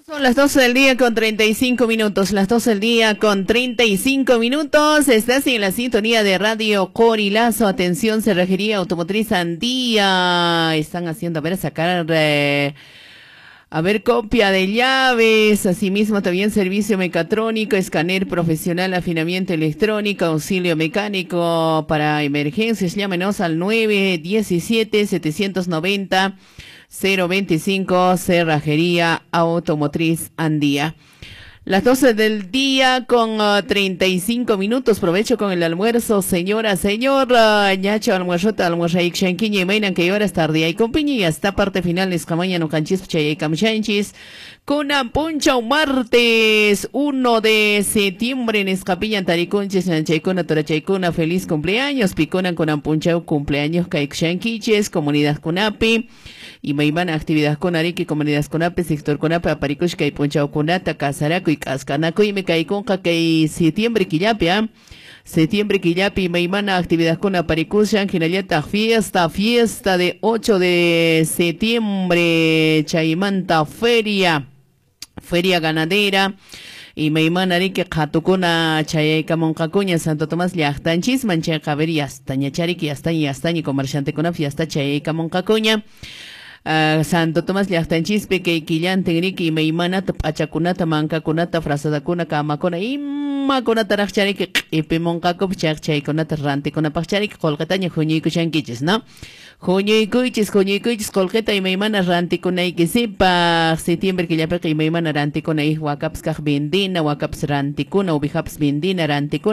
Son las 12 del día con 35 minutos, las 12 del día con 35 minutos. Estás en la sintonía de Radio Corilazo. Atención, Cerrajería Automotriz Andía. Están haciendo, a ver, sacar, a ver, copia de llaves. Asimismo, también servicio mecatrónico, escáner profesional, afinamiento electrónico, auxilio mecánico para emergencias. Llámenos al 917 790 025, Cerrajería Automotriz Andía. Las 12 del día con 35 minutos. Provecho con el almuerzo, señora, señor. Ñacho, almuerzota, almuerza, ixanquiña, y mainan que horas tarde. Y con y hasta parte final, escamaña, no canchis, chay, camchanchis. Kunan puncha, martes 1 de septiembre en Escapiña, Taricunches, Nanchaykuna, Torachaykuna, feliz cumpleaños. Piconan, Kunan puncha, cumpleaños, Caixanquiches, comunidad Kunapi. Y maymana actividad con Ariki, comunidad Kunapi, sector Kunapi, Aparicushka y puncha Kunata, Casaraco y Cascanaco y me caiconja que septiembre quillapi, ¿ah? Septiembre quillapi, maymana actividad con Aparicushka, Ginallata, fiesta, fiesta de 8 de septiembre, Chaymanta, feria, feria ganadera. Y maymana riki qhatukuna chayaykamunqakuña Santo Tomás llaqtanchisman chayqa ver yastaña chariki yastaña yastaña comerciantekuna fiesta chayaykamunqakuña. Santo Tomás llaqtanchispi kay killantin riki imaymanata p'achakunata mankakunata frazadakuna kamakuna imakunataraq chariki q'ipimunqakupas chayqa chaykunata rantikunapaq chariki qullqitaña huñuykushankichis, ¿no? Huñuykuychis, huñuykuychis qullqita imaymana rantikunaykisipaq. Septiembre killapiqa imaymana rantikuna wakapas kaq vendina, wakapas rantikuna, uvijapas vendina rantikuna.